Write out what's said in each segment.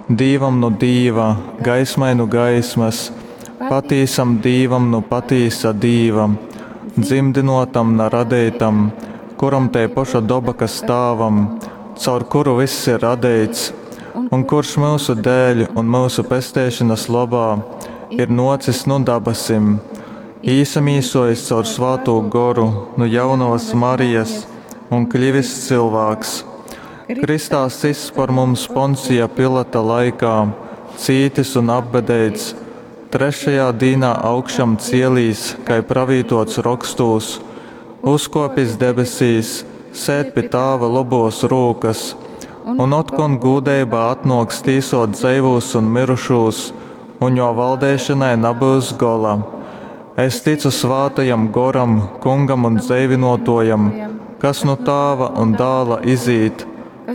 Dīvam nu Dīva, gaismai nu gaismas, patīsam Dīvam nu patīsa Dīva, dzymdynōtam, na radeitam, kuram tei poša doba, kas Tāvam, caur kuru vyss ir radeits, un kurš myusu dēļ un myusu pesteišonas lobā ir nōcis nu dabasim, īsamīsōjis caur Svātū Goru nu jaunovas Marijas un kļivis cylvāks. Kristā sists par mums Poncija Pilata laikā, cītis un apbedeits, trešajā dīnā augšam cielīs, kai pravītots rokstūs, uzkōpis debesīs, sēd pi Tāva lobōs rūkas, un otkon gūdeibā atnōks tīsōt dzeivūs un myrušūs, un jō valdeišanai nabyus gola. Es ticu Svātajam Goram, Kungam un dzeivynōtōjam, kas nu Tāva un Dāla izīt,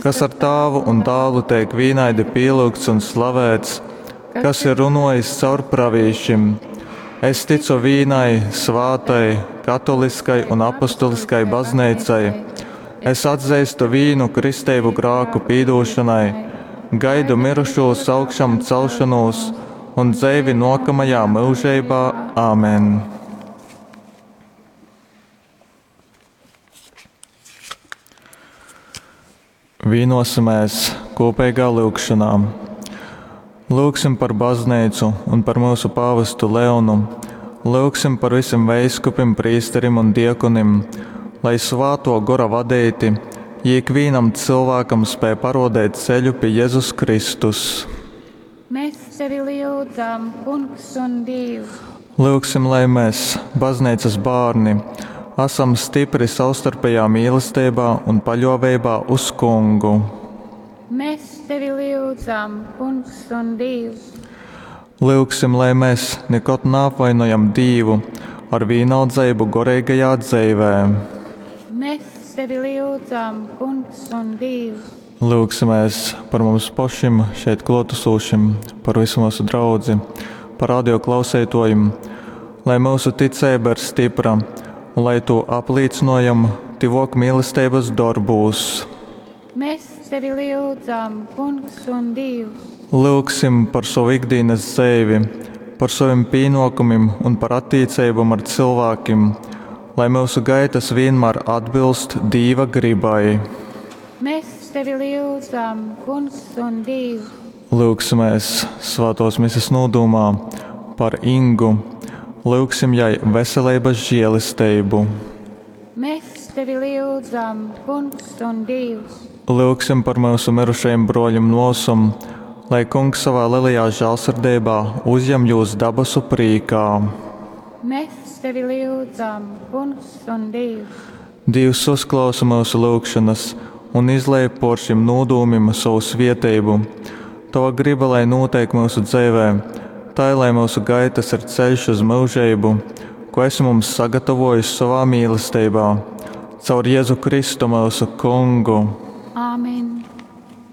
kas ar Tāvu un Dālu teik vīnaidi pīlyugts un slavēts, kas ir runōjis caur pravīšim. Es ticu vīnai svātai, katoliskai un apostoliskai bazneicai. Es atzeistu vīnu kristeibu grāku pīdūšanai, gaidu mirušūs augšam celšanos un dzeivi nōkamajā myužeibā. Āmen. Vīnosimies kopīgā lūgšanā. Lūgsim par baznīcu un par mūsu pāvestu Leonu. Lūgsim par visiem veiskupim, prīsterim un diekonim, lai svāto gora vadeiti, jī ikvienam cilvēkam spēj parodēt ceļu pie Jēzus Kristus. Mēs tevi lyudzam, Kungs un Dievs. Lūgsim, lai mēs, baznīcas bērni, esam stipri savstarpējā mīlestībā un paļāvībā uz Kungu. Mēs tevi lyudzam, Kungs un Dievs. Lūgsim, lai mēs nekad neapvainojam Dievu ar vienaldzeibu goreigajā dzīvē. Mēs tevi lyudzam, Kungs un Dievs. Lūgsimies par mums pašiem, šeit klātesošiem, par visu mūsu draudzi, par radio klausītājiem, lai mūsu ticība ir stipra un lai to apliecinojam tivok mīlestības darbūs. Mēs tevi lyudzam, Kungs un Dievs. Lūgsim par savu ikdienas dzīvi, par saviem pienākumiem un par attiecībām ar cilvēkiem, lai mūsu gaitas vienmēr atbilst Dieva gribai. Mēs tevi lyudzam, Kungs un Dievs. Lūgsimies svētos misijas nodomā par Ingu. Lūgsim jai veselības žēlastību. Mēs tevi lyudzam, Kungs un Dievs. Lūgsim par mūsu mirušajiem broļiem nosum, lai Kungs savā lielajā žēlsirdībā uzņem jūs dabasu prīkā. Mēs tevi lyudzam, Kungs un Dievs. Dievs uzklausa mūsu lūgšanas un izlej por šim nodūmim savu svieteibu. Tava griba, lai notiek mūsu dzīvē, tā lai mūsu gaitas ir ceļš uz mūžību, ko esi mums sagatavojis savā mīlestībā, caur Jēzu Kristu mūsu Kungu. Āmen.